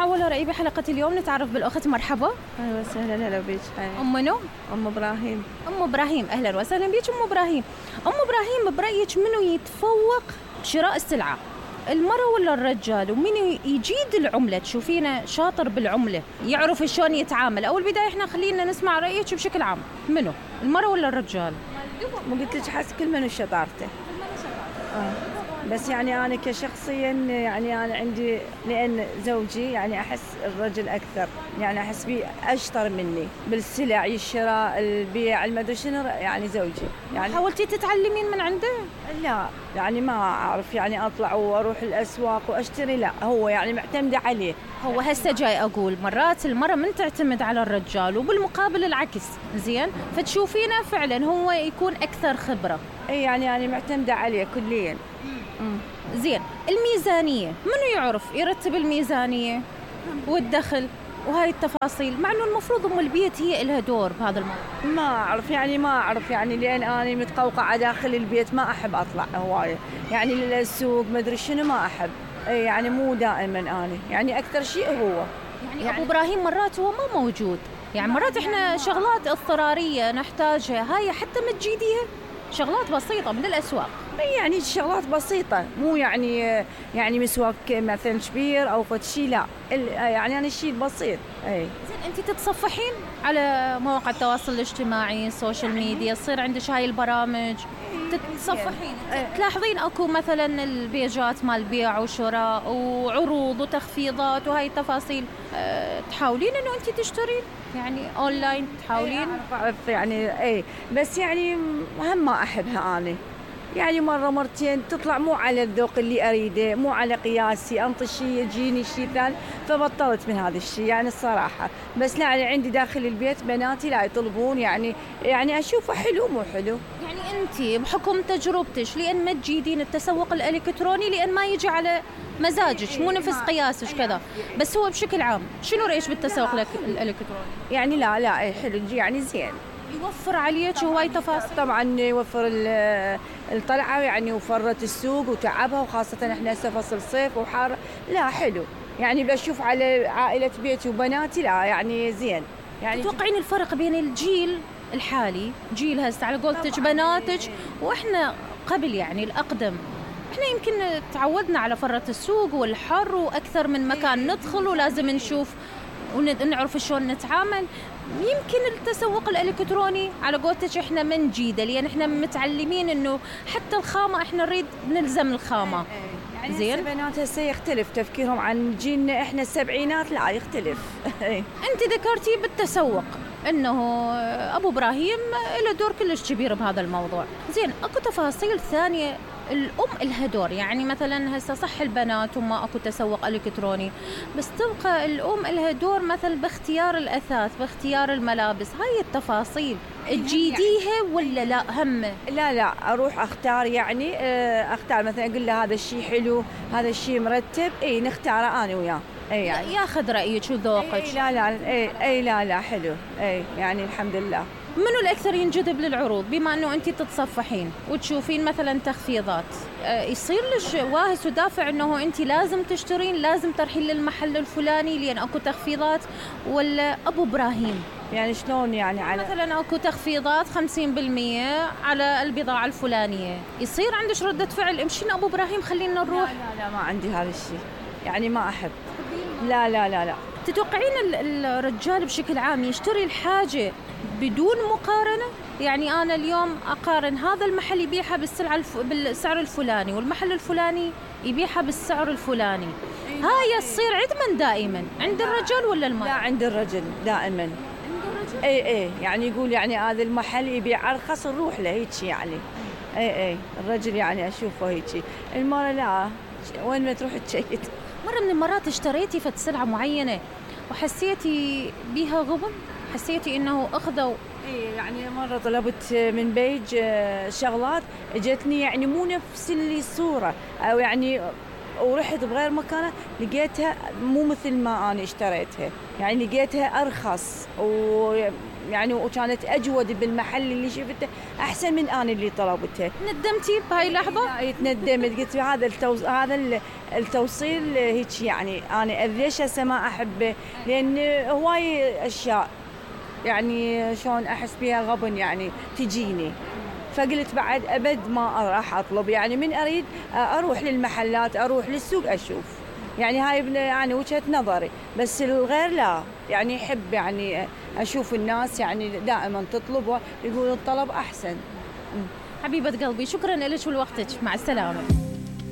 ولا رأي بحلقة اليوم نتعرف بالأخت. مرحبا. أهلا وسهلا. هلا بيك. أم منو؟ أم إبراهيم. أم إبراهيم، أهلا وسهلا بيك أم إبراهيم. أم إبراهيم، برأيك منو يتفوق بشراء السلعة، المرأة ولا الرجال؟ ومنو يجيد العملة؟ تشوفينه شاطر بالعملة، يعرف شلون يتعامل؟ أول بداية إحنا خلينا نسمع رأيك بشكل عام، منو المرأة ولا الرجال؟ مو قلت لك حس كل من شطارته. بس يعني أنا كشخصيا يعني أنا عندي، لأن زوجي يعني أحس الرجل أكثر، يعني أحس بيه أشطر مني بالسلع، الشراء، البيع، المدري شنو، يعني زوجي. يعني حاولتي تتعلمين من عنده؟ لا يعني ما أعرف يعني أطلع وأروح الأسواق وأشتري، لا هو يعني معتمدة عليه. هو هسه جاي أقول مرات المرأة من تعتمد على الرجال وبالمقابل العكس، زين؟ فتشوفينه فعلا هو يكون أكثر خبرة. أي يعني أنا معتمدة عليه كليا. زين، الميزانية منو يعرف يرتب الميزانية والدخل وهاي التفاصيل، مع انه المفروض ام البيت هي لها دور بهذا الموضوع؟ ما اعرف يعني لان انا متقوقعه داخل البيت، ما احب اطلع هوايه يعني للسوق ما ادري شنو، ما احب. يعني مو دائما انا، يعني اكثر شيء هو يعني ابو ابراهيم مرات هو ما موجود، يعني مرات احنا شغلات اضطراريه نحتاجها، هاي حتى ما تجيديها شغلات بسيطه من الاسواق، يعني شغلات بسيطه، مو يعني مسواك مثلا كبير او فد شيء، لا يعني انا الشيء بسيط. زين، انت تتصفحين على مواقع التواصل الاجتماعي، السوشيال ميديا، يصير عندك هاي البرامج تتصفحين، تلاحظين اكو مثلا البيجات مال بيع وشراء وعروض وتخفيضات وهاي التفاصيل، تحاولين انه انت تشترين يعني اونلاين، تحاولين؟ اعرف يعني بس يعني هم ما احبها انا، يعني مرة مرتين تطلع مو على الذوق اللي أريده، مو على قياسي، أنطي شيء يجيني شيء ثاني، فبطلت من هذا الشيء يعني الصراحة. بس لا، يعني عندي داخل البيت بناتي لا يطلبون، يعني أشوفه حلو مو حلو. يعني أنت بحكم تجربتش لأن ما تجيدين التسوق الإلكتروني، لأن ما يجي على مزاجك، مو نفس قياسك كذا، بس هو بشكل عام شنو رأيك بالتسوق الإلكتروني؟ يعني لا حلو، يعني زين، يوفر عليك هواي تفاصيل. طبعا يوفر الطلعة، يعني وفرت السوق وتعبها، وخاصة احنا هسه فصل صيف وحار، لا حلو يعني. بشوف على عائلة بيتي وبناتي لا يعني زين. يعني تتوقعين الفرق بين الجيل الحالي، جيل هسه على قولتك بناتك، واحنا قبل يعني الأقدم؟ احنا يمكن تعودنا على فرة السوق والحر وأكثر من مكان ندخل ولازم نشوف ونعرف شلون نتعامل. يمكن التسوق الإلكتروني على قولتك احنا ما نجيده، لأن احنا متعلمين انه حتى الخامة احنا نريد نلزم الخامة. يعني زين، البنات هسه يختلف تفكيرهم عن جيلنا احنا السبعينات، لا يختلف. انت ذكرتي بالتسوق انه ابو ابراهيم له دور كلش كبير بهذا الموضوع، زين اكو تفاصيل ثانية الأم لها دور؟ يعني مثلا هسه صح البنات وما أكو تسوق إلكتروني، بس تبقى الأم لها دور مثل باختيار الأثاث، باختيار الملابس، هاي التفاصيل تجيديها ولا لا همه؟ لا أروح أختار، يعني أختار مثلا أقول له هذا الشيء حلو، هذا الشيء مرتب، نختاره أنا وياه. يعني ياخذ رأيك وذوقك. لا حلو، يعني الحمد لله. منو الأكثر ينجذب للعروض؟ بما أنه أنت تتصفحين وتشوفين مثلا تخفيضات، يصير لك واهس ودافع أنه أنت لازم تشترين، لازم ترحين للمحل الفلاني لأن أكو تخفيضات، ولا أبو إبراهيم؟ يعني شلون يعني على مثلا أكو تخفيضات 50% على البضاعة الفلانية، يصير عندك ردة فعل امشين أبو إبراهيم خلينا نروح؟ لا ما عندي هذا الشيء، يعني ما أحب. لا. تتوقعين الرجال بشكل عام يشتري الحاجة بدون مقارنة؟ يعني أنا اليوم أقارن هذا المحل يبيعها بالسعر الفلاني، والمحل الفلاني يبيعها بالسعر الفلاني، هاي تصير عدما دائما عند الرجال ولا المرأة؟ لا عند الرجل دائما. عند الرجل؟ يعني يقول يعني هذا المحل يبيع أرخص نروح له هيك يعني. الرجل يعني أشوفه هيك، المرأة لا، وين ما تروح تشيك. مرة من المرات اشتريتي فد سلعة معينة وحسيتي بيها غبن، حسيتي انه اخذوا؟ يعني مرة طلبت من بيج شغلات، اجتني يعني مو نفس اللي الصورة، او يعني ورحت بغير مكان لقيتها مو مثل ما أنا اشتريتها، يعني لقيتها أرخص ويعني وكانت أجود بالمحل اللي شفته أحسن من أنا اللي طلبته. ندمتي بهاي اللحظة؟ لا تندمت، قلت هذا التوصيل هيك يعني أنا ليش هسه ما أحبه، لأن هواي أشياء يعني شلون أحس بيها غبن يعني تجيني، فقلت بعد أبد ما راح أطلب، يعني من أريد أروح للمحلات أروح للسوق أشوف، يعني هاي يعني وجهة نظري، بس الغير لا يعني يحب يعني أشوف الناس يعني دائما تطلب ويقولوا الطلب أحسن. حبيبة قلبي شكرا لك ولوقتك، مع السلامة.